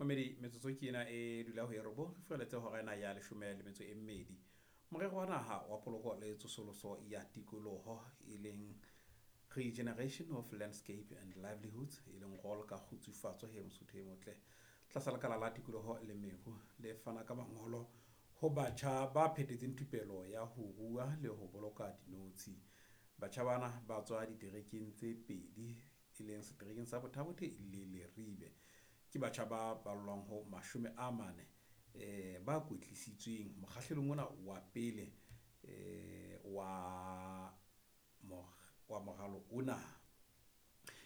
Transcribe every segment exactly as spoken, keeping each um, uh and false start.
Mamedi metsotso ke ena e dula ho e robong re fihlelletse hora ena ya leshome le metso e mmedi. Morero wa naha wa poloko le tsosoloso ya tikoloho e leng Regeneration of Landscape and Livelihoods e leng R O L ka kgutsufatso he Mosotho e motle. Tlasa lekala la tikoloho le meru le fana ka mangolo ho batjha ba phethetseng thupelo ya ho rua le ho boloka dinotshi. Batjha bana ba tswa diterekeng tse pedi e leng seterekeng sa Botha-Bothe le Leribe. Ke batjha ba ballwang ho mashome a mane eh ba kwetlisitsweng mokgahlelong ona wa pele eh wa wa moralo ona.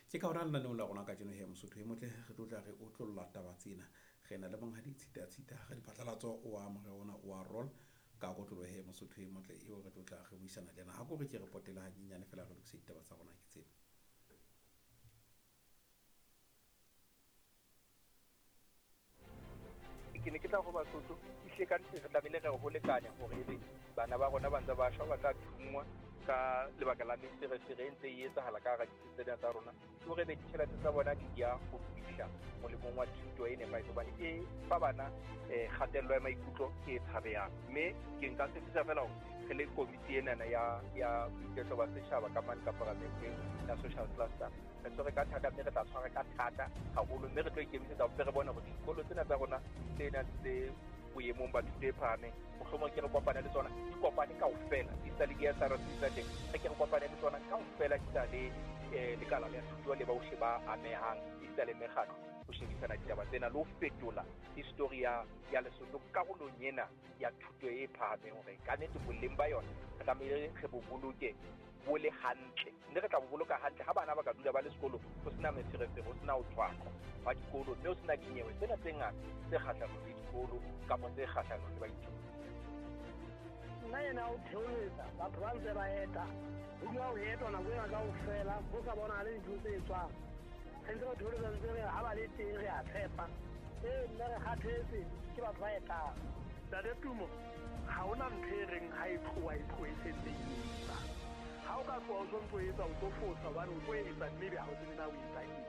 Ke ka hona lenaneong la rona kajeno he Mosotho e motle re tlo tla re otlolla taba tsena. Re na le monghadi Tshita Tshita re diphatlalatso wa morero ona wa R O L ka kotloloho he Mosotho e motle eo re tlo tla re buisana le yena. Ha ko re ke re potela hanyenyane feela re lokise ditaba tsa rona ke tsena. Ke ne ke tla ho Basotho ehlile ka nnete re tlamehile re ho lekane hore ebe bana ba rona ba ntse ba shwa ba tla thunngwa ka lebaka la meferefere e ntse e etsahala ka hara ditsi tsena tsa rona, ke hore ebe ditjhelete tsa bona di ya ho fihla molemong wa thuto e nepahetseng hobane e fa bana um kgatello ya maikutlo e tshabehang. Mme ke nka tshepisa feela hore re le komiti enana ya ya boiketlo ba setjhaba ka mane ka paramenteng ya social cluster re tshwere ka thata, mme re tla tshwara ka thata haholo, mme re tlo ikemisetsa hore re bone hore dikolo tsena tsa rona tse nang tse boemong ba thuto e phahameng mohlomong ke re kopane le tsona di kopane kaofela di sa le di-S R C tsa teng, re ke re kopane le tsona kaofela di sa le um lekala la thuto le bohle ba amehang esita le mekgatlo ho shebisana ditaba tsena le ho fetola history ya ya Lesotho karolong ena ya thuto e phahameng hore ka nnete boleng ba yona re tlamehile re bo boloke bo le hantle, mme re tla bo boloka hantle ha bana ba ka dula ba le sekolong ho sena meferefere, ho sena ho tshwaqwa wa dikolo, mme ho sena dinyewe tsena tse ngata tse kgahlanong le dikolo kapa tse kgahlanong le baithuti. Nna ena o theoletsa batho ba ntse ba eta ho dula ho etwa nako ena kaofela ho sa bonahale dintho tse etswang. Re ntse re theoletsa ntse re ha ba le teng re a tshepa, ee nna re kgathetse ke batho ba etang. Ntate Tumo, ha hona ntho e reng ha e tloha e tlohe e sentse e etsa. Ha o ka tloha o sontso o etsa o tlo fosa hobane o tlo etsa mme ebe ha o tsebe na o etsa eng.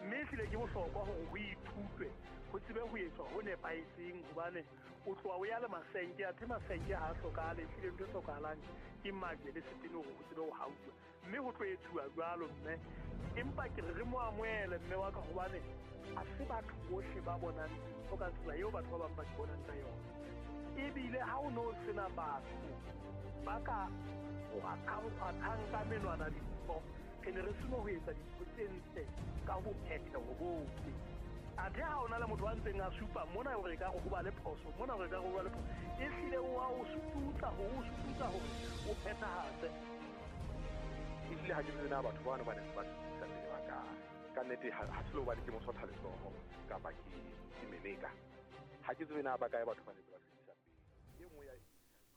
Mme ehlile ke bohlokwa hore ho ithutwe ho tsebe ho etswa ho nepahetseng hobane o tloha o ya le masenke, athe masenke ha a hlokahale. Ehlile ntho e hlokahalang ke majwe le setene hore ho tsebe ho hauwa, mme ho tlo etsuwa jwalo mme. Empa ke re re mo amohele mme wa ka hobane ha se batho bohle ba bonang dintho ka tsela eo batho ba bang ba di bonang ka yona. Ebile ha o no sena batho ba ka kgwathang ka menwana dintho, re ne re seno ho etsa dintho tse ntle ka ho phetheho bohle. Athe ha ona le motho a ntseng a supa mona hore ekare ho ba le phoso, mona hore ekare ho ba le phoso, ehlile o a o sututsa hore o sututsa hore o phethahatse. Ehlile ha ke tsebe na batho bano ba neng ba fetisa pele ba kae. Ka nnete ha se le hobane ke mosotha letsoho kapa ke ke meneka. Ha ke tsebe na ba kae batho ba neng ba fetisa pele. E nngwe ya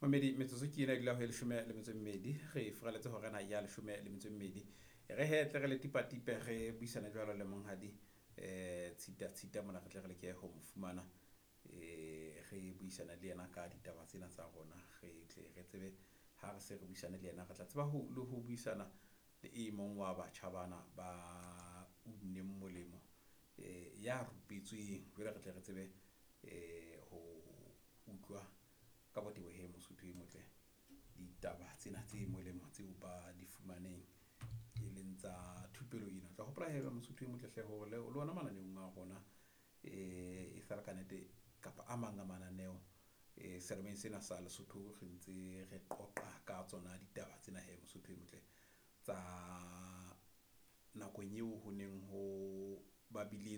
Mamedi metsotso ke ena e dula ho e leshome le metso e mmedi re furaletse hora ena ya leshome le metso e mmedi. Re hetle re le tipatipe re buisana jwalo le monghadi eh Tshita Tshita mona re tle re leke ho mo fumana eh re buisana le yena ka ditaba tsena tsa rona re tle re tsebe ha re se re buisane le yena re tla tseba ho le ho buisana le e mong wa batjha bana ba unneng molemo eh ya rupetsweng jwale re tle re tsebe eh ho utlwa ka botebo he Mosotho e motle ditaba tsena tse molemo tseo ba di fumaneng e leng tsa thupelo ena. Tla hopola he Mosotho e motle hle hore le lona mananeong a rona eh e sala ka nnete kapa a mang a mananeo eh selemeng sena sa Lesotho re ntse re qoqa ka tsona ditaba tsena he Mosotho e motle tsa nakong eo ho neng ho ba biletswe